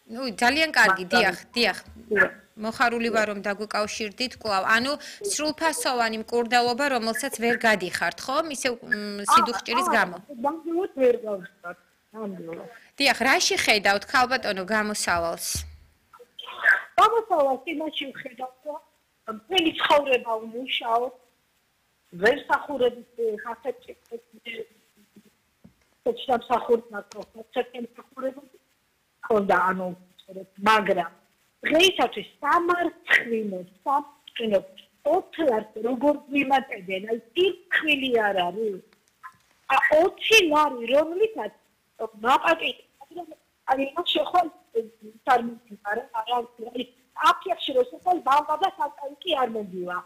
ნუ ძალიან კარგი, დიახ. მოხარული ვარ რომ დაგვიკავშირდით კვლავ. ანუ სრულფასოვანი მკურნალობა, რომელსაც ვერ გადიხართ, ხო? ისე სიდუხჭირის გამო. ნამდვილად ვერ გავხსნათ. ნამდვილად. დიახ, რაში ხედავთ ქალბატონო გამოსავალს? გამოსავალს იმაში ვხედავთ, რომ მთელი ცხოვრება ვმუშაობ, ვერ სახურებით ხასეთი მაგრამ დღეისათვის სამარცხვინო 4 როგორ ვიმატებენ, აი ტირქვილი არ არის. 20 ლარი რომლითაც მაპატიეთ, აი მას შეხვალ წარმოგიდგარა, აი აფიახში რო შეხვალ ბავვა და საკაიკი არ მოგივა.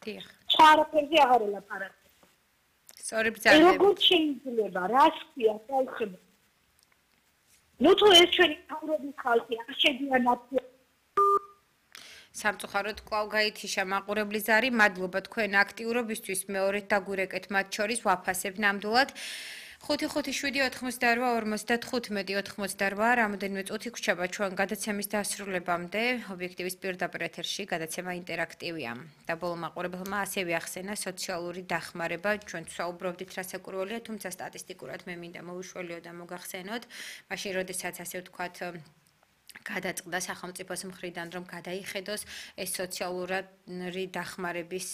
დიახ. ჩარაფერზე აღარ ელაპარაკე. სწორი ბრძანებით. როგორ შეიძლება, რას ქვია, ხალხები? ნუ თუ ეს ჩვენი თავრობის ხალხი არ შედიან აფიახში. სამწუხაროდ კვლავ გაითიშა მაყურებლის ზარი, მადლობა თქვენ აქტიურობისთვის, მეორედ დაგვირეკეთ მათ შორის ვაფასებ ნამდვილად. 5-5-7-98-55-88, რამოდენიმე წუთი გვჭირდება ჩვენ გადაცემის დასრულებამდე, ობიექტივის პირდაპირ ეთერში გადაცემა ინტერაქტივია. და ბოლო მაყურებელმა ასევე ახსენა სოციალური დახმარება, ჩვენ ვსაუბრობდით რა საკურველია, თუმცა სტატისტიკურად მე მინდა მოვიშველიო და მოგახსენოთ, მაშინ როდესაც ასე ვთქვათ გადაწყდა სახელმწიფოს მხრიდან რომ გადაიხედოს ეს სოციალური დახმარების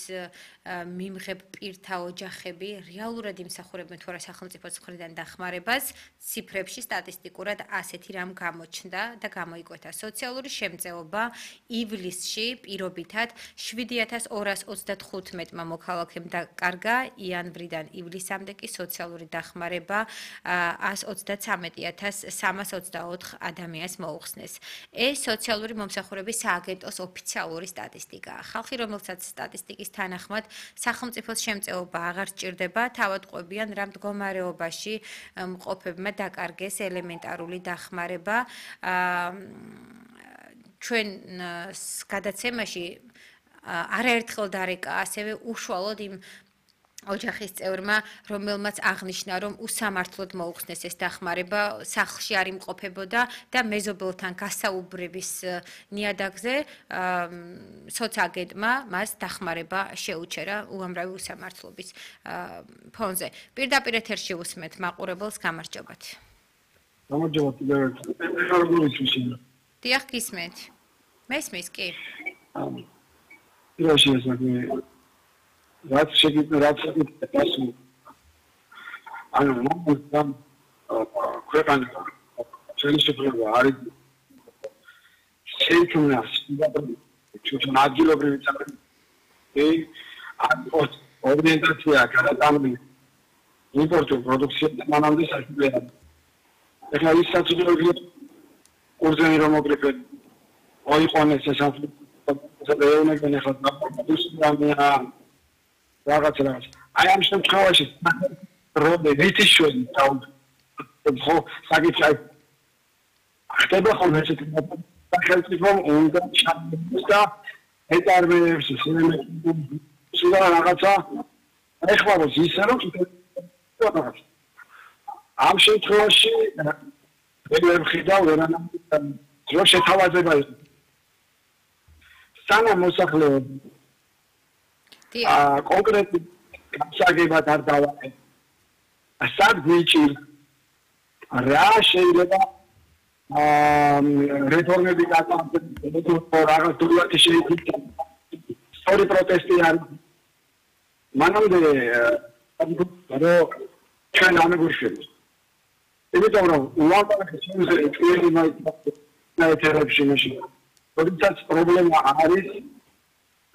მიმღებ პირთა ოჯახები რეალურად იმსახურებენ თუ არა სახელმწიფოს მხრიდან დახმარებას ციფრებში სტატისტიკურად ასეთი რამ გამოჩნდა და გამოიკვეთა სოციალური შემწეობა ივლისში პირობითად 7235-მა მოქალაქემ დაკარგა იანვრიდან ივლისამდე კი სოციალური დახმარება 133,324 ადამიანს მოუხსნეს. ეს სოციალური მომსახურების სააგენტოს ოფიციალური სტატისტიკაა. ხალხი, რომელსაც სტატისტიკის თანახმად სახელმწიფოს შემწეობა აღარ სჭირდება, თავად ყვებიან რა მდგომარეობაში მყოფებმა დაკარგეს ელემენტარული დახმარება. ჩვენ გადაცემაში არაერთხელ დარეკა ასევე უშუალოდ იმ ოჯახის წევრმა, რომელმაც აღნიშნა, რომ უსამართლოდ მოუხსნეს ეს დახმარება, სახლში არ იმყოფებოდა და მეზობელთან გასაუბრების ნიადაგზე სოცაგენტმა მას დახმარება შეუჩერა უამრავი უსამართლობის ფონზე. პირდაპირ ეთერში უსმენთ მაყურებელს, გამარჯობათ. გამარჯობათ კიდევ ერთხელ. დიახ, გისმენთ. მესმის კი? პირველში ეს რაც შეგიძლიათ პასუხი ანუ მომდამ ქვეყანა შეიძლება არის შეიქმნას ჩვენ ადგილობრივი წარუმატებელი ორიენტაცია გადატანილი იმპორტულ პროდუქციაზე მანამდე საშუალება ეხლა ის საწინააღმდეგო კურსები რომ მოგრიფეთ ოიყონეს ეს ეუნებენ ეხლა პროდუქცია რაღაცა. აი ამ შემთხვევაში როდე ვიტიშველი ხო საკითხი ხდება ხოლმე ესეთი სახელმწიფო უნდა ჩამოიყვანოს და ეტარმეებს სულ რაღაცა ეხმაროს ისე რომ ამ შემთხვევაში ვერ ხედავ ვერანაირ რო შეთავაზება იყო სანამ მოსახლეობა კონკრეტი გასაგებად არ დავაყენე. სად გვიჭირ რა შეიძლება რეფორმები გაკეთდეს რაღაც დულაკი შეიძლება სწორი პროტესტი არის. მანამდე რომ ჩვენ ამეგურშებს. იმიტომ რომ უამრავი შემთხვევაში ჩვენი მაიტერებში მაშინ როდესაც პრობლემა არის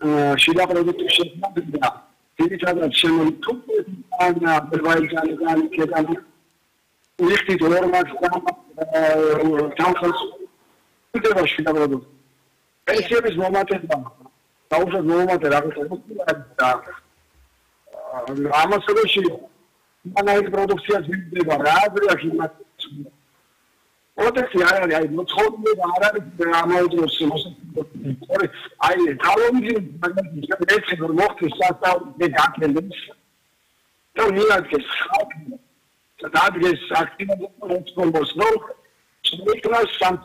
შიდა პროდუქტის შექმნა ძირითადად შემოიტანა აზერბაიჯანიდან კედანი უიხდით ნორმას თანხას უდება შიდა პროდუქტი პენსიების მომატება დაუშვათ მომატე რაღაცა და ამასობაში მანაირი პროდუქცია ძირდება რა აზრია იმას პროტესტი არ არის, აი მოწყობილება არ არის ამავე დროს მოსახლეობის. აი თავოვნდი მაგალითად ეს მოხდეს სასწავლებლად გაკეთდეს. და მიადგეს ხალხი და დადგეს აქტივობებს, რომ შეიქმნა